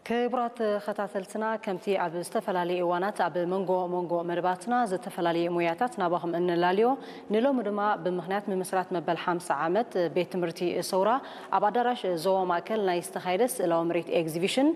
ክቡራት ተኸታተልትና፣ ከምቲ ኣብ ዝተፈላለዩ እዋናት ኣብ መንጎ መንጎ መደባትና ዝተፈላለዩ ሞያታት ናባኹም እንላልዮ፣ ንሎሚ ድማ ብምኽንያት ምምስራት መበል ሓምሳ ዓመት ቤት ትምህርቲ ሰውራ ኣብ ኣዳራሽ ዞባ ማእከል ናይ ዝተኻየደ ስእላዊ ምርኢት ኤግዚቢሽን፣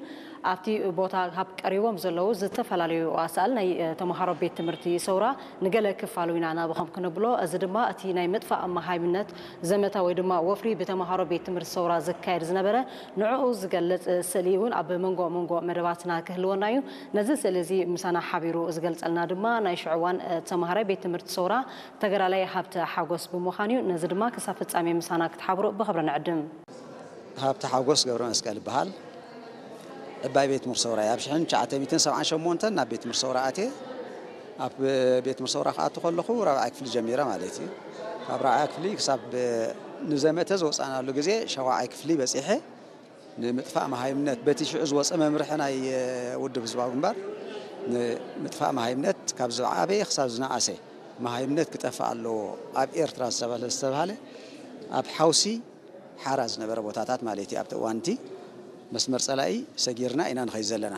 ኣብቲ ቦታ ካብ ቀሪቦም ዘለዉ ዝተፈላለዩ ኣሳእል ናይ ተምሃሮ ቤት ትምህርቲ ሰውራ ንገለ ክፋሉ ኢና ናባኹም ክነብሎ። እዚ ድማ እቲ ናይ ምጥፋእ መሃይምነት ዘመተ ወይ ድማ ወፍሪ ብተምሃሮ ቤት ትምህርቲ ሰውራ ዝካየድ ዝነበረ ንዕኡ ዝገልጽ ስእሊ እውን ኣብ መንጎ መንጎ መደባትና ክህልወና እዩ። ነዚ ስእሊ እዚ ምሳና ሓቢሩ ዝገልጸልና ድማ ናይ ሽዑ እዋን ተምሃራይ ቤት ትምህርቲ ሰውራ ተጋዳላይ ሃብተ ሓጎስ ብምዃን እዩ። ነዚ ድማ ክሳብ ፍጻሜ ምሳና ክትሓብሩ ብኽብሪ ንዕድም። ሃብተ ሓጎስ ገብረ መስቀል ይበሃል። ዕባይ ቤት ትምህርቲ ሰውራ እየ። ኣብ ሽሕን ትሽዓተ ሚእትን ሰብዓን ሸሞንተን ናብ ቤት ትምህርቲ ሰውራ ኣትየ። ኣብ ቤት ትምህርቲ ሰውራ ክኣቱ ከለኹ ራብዓይ ክፍሊ ጀሚረ ማለት እዩ። ካብ ራብዓይ ክፍሊ ክሳብ ንዘመተ ዝወፃእናሉ ግዜ ሻውዓይ ክፍሊ በፂሐ ንምጥፋእ መሃይምነት በቲ ሽዑ ዝወፀ መምርሒ ናይ ውድብ ህዝባዊ ግንባር ንምጥፋእ መሃይምነት ካብ ዝዓበየ ክሳብ ዝነኣሰ መሃይምነት ክጠፍእ ኣለዎ ኣብ ኤርትራ ዝተባህለ ዝተባህለ ኣብ ሓውሲ ሓራ ዝነበረ ቦታታት ማለት እዩ። ኣብቲ እዋንቲ መስመር ጸላኢ ሰጊርና ኢና ንኸይድ ዘለና።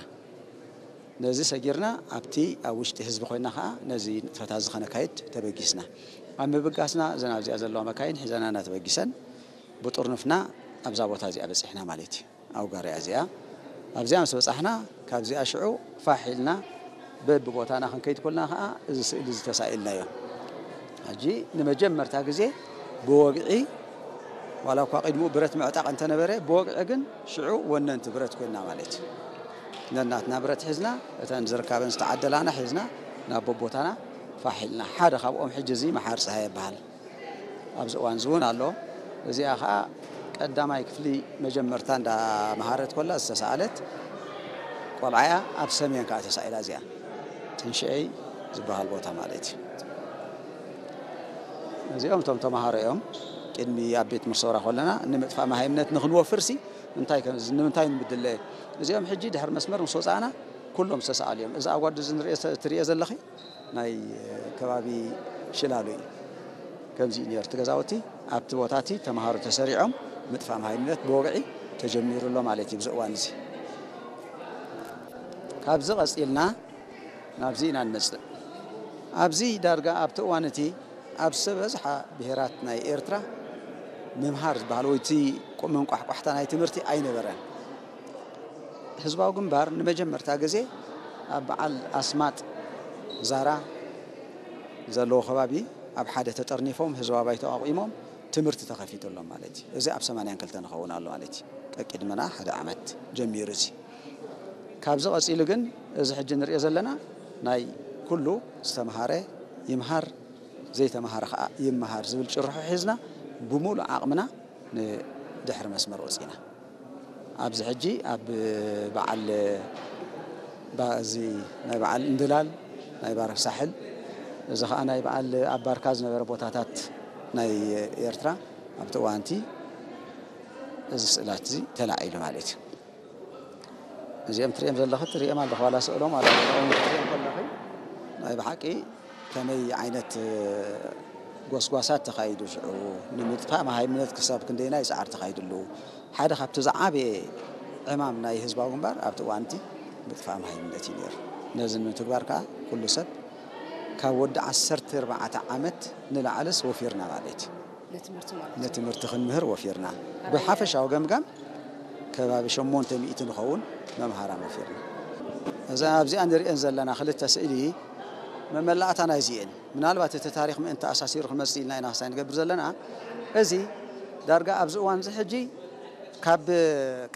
ነዚ ሰጊርና ኣብቲ ኣብ ውሽጢ ህዝቢ ኮይና ከኣ ነዚ ንጥፈታት እዚ ከነካይድ ተበጊስና። ኣብ ምብጋስና እዘን ኣብዚኣ ዘለዋ መካይን ሒዘናና ተበጊሰን ብጥርኑፍና ኣብዛ ቦታ እዚኣ በጺሕና ማለት እዩ። ኣብ ጋሪያ እዚኣ ኣብዚኣ ምስ በጻሕና ካብዚኣ ሽዑ ፋሕ ኢልና በብቦታና ክንከይድ ኮልና ከኣ እዚ ስእሊ እዚ ተሳኢልናዮ። ሕጂ ንመጀመርታ ግዜ ብወግዒ ዋላ እኳ ቅድሚኡ ብረት ምዕጣቕ እንተነበረ ብወግዒ ግን ሽዑ ወነንቲ ብረት ኮይንና ማለት እዩ። ነናትና ብረት ሒዝና እተን ዝርካበን ዝተዓደላና ሒዝና ናብ በቦታና ፋሕ ኢልና። ሓደ ካብኦም ሕጂ እዚ መሓር ጸሃየ ይበሃል። ኣብዚ እዋን እዚ እውን ኣሎ። እዚኣ ኸዓ ቀዳማይ ክፍሊ መጀመርታ እንዳመሃረት ኮላ ዝተሰኣለት ቆልዓ እያ። ኣብ ሰሜን ከዓ ተሳኢላ እዚኣ ትንሽአይ ዝበሃል ቦታ ማለት እዩ። እዚኦም እቶም ተምሃሮ እዮም። ቅድሚ ኣብ ቤት ምርሰውራ ኮለና ንምጥፋእ መሃይምነት ንክንወፍርሲ እንታይ ከም- ንምንታይ ንምድለ እዚኦም ሕጂ ድሕሪ መስመር ምስ ወፃእና ኩሎም ዝተሰኣሉ እዮም። እዚ ኣጓዱ እዚ ንሪኦ- ትሪኦ ዘለኺ ናይ ከባቢ ሽላሉ እዩ። ከምዚ እዩ ነይሩ እቲ ገዛውቲ። ኣብቲ ቦታ እቲ ተምሃሮ ተሰሪዖም ምጥፋእ መሃይምነት ብወግዒ ተጀሚሩ ኣሎ ማለት እዩ። ብዚ እዋን እዚ ካብዚ ቀፂልና ናብዚ ኢና ንመፅእ። ኣብዚ ዳርጋ ኣብቲ እዋን እቲ ኣብ ዝበዝሓ ብሄራት ናይ ኤርትራ ምምሃር ዝበሃል ወይ እቲ መንቋሕቋሕታ ናይ ትምህርቲ ኣይነበረን። ህዝባዊ ግንባር ንመጀመርታ ግዜ ኣብ በዓል ኣስማጥ ዛራ ዘለዎ ከባቢ ኣብ ሓደ ተጠርኒፎም ህዝባዊ ባይቶ ኣቑሞም ትምህርቲ ተኸፊቱሎም ማለት እዩ። እዚ ኣብ ሰማንያን ክልተን ንኸውን ኣሎ ማለት እዩ። ቀቂድመና ሓደ ዓመት ጀሚሩ እዚ ካብዚ ቀፂሉ ግን እዚ ሕጂ ንሪኦ ዘለና ናይ ኩሉ ዝተምሃረ ይምሃር ዘይተምሃረ ከዓ ይምሃር ዝብል ጭርሖ ሒዝና ብሙሉእ ዓቕምና ንድሕሪ መስመር ወፂና። ኣብዚ ሕጂ ኣብ በዓል ባ- እዚ ናይ በዓል እንድላል ናይ ባርክ ሳሕል እዚ ከዓ ናይ በዓል ኣብ ባርካ ዝነበረ ቦታታት ናይ ኤርትራ ኣብቲ እዋንቲ እዚ ስእላት እዚ ተላዒሉ ማለት እዩ። እዚኦም ትሪኦም ዘለኺ ትሪኦም ኣለኹ ዋላ ስእሎም ኣለኹ ትሪኦም ከለኺ ናይ ብሓቂ ከመይ ዓይነት ጎስጓሳት ተኻይዱ ሽዑ ንምጥፋእ መሃይምነት ክሳብ ክንደይናይ ፃዕሪ ተኻይድሉ ሓደ ካብቲ ዝዓበየ ዕማም ናይ ህዝባዊ ግንባር ኣብቲ እዋንቲ ምጥፋእ መሃይምነት እዩ ነይሩ። ነዚ ንምትግባር ከዓ ኩሉ ሰብ ካብ ወዲ ዓሰርተ ኣርባዕተ ዓመት ንላዕልስ ወፊርና ማለት እዩ። ንትምህርቲ ክንምህር ወፊርና ብሓፈሻዊ ገምጋም ከባቢ ሸሞንተ ሚእቲ ንኸውን መምሃራን ወፊርና። እዛ ኣብዚኣ ንሪአን ዘለና ክልተ ስእሊ መመላእታ ናይዚ እየን። ምናልባት እቲ ታሪክ ምእንቲ ኣሳሲሩ ክመፅእ ኢልና ኢና ክሳይ ንገብር ዘለና። እዚ ዳርጋ ኣብዚ እዋን እዚ ሕጂ ካብ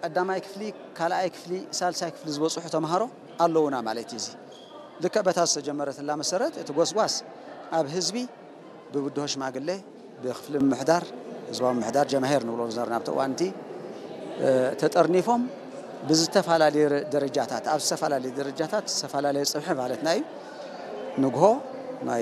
ቀዳማይ ክፍሊ ካልኣይ ክፍሊ ሳልሳይ ክፍሊ ዝበፅሑ ተምሃሮ ኣለውና ማለት እዩ። እዚ ልክዕ በታ ዝተጀመረትላ መሰረት እቲ ጎስጓስ ኣብ ህዝቢ ብብድሆ ሽማግሌ ብክፍሊ ምምሕዳር ህዝባዊ ምምሕዳር ጀማሄር ንብሎ ዝነበርና ኣብቲ እዋን እቲ ተጠርኒፎም ብዝተፈላለየ ደረጃታት ኣብ ዝተፈላለየ ደረጃታት ዝተፈላለየ ፅብሒ ማለትና እዩ። ንግሆ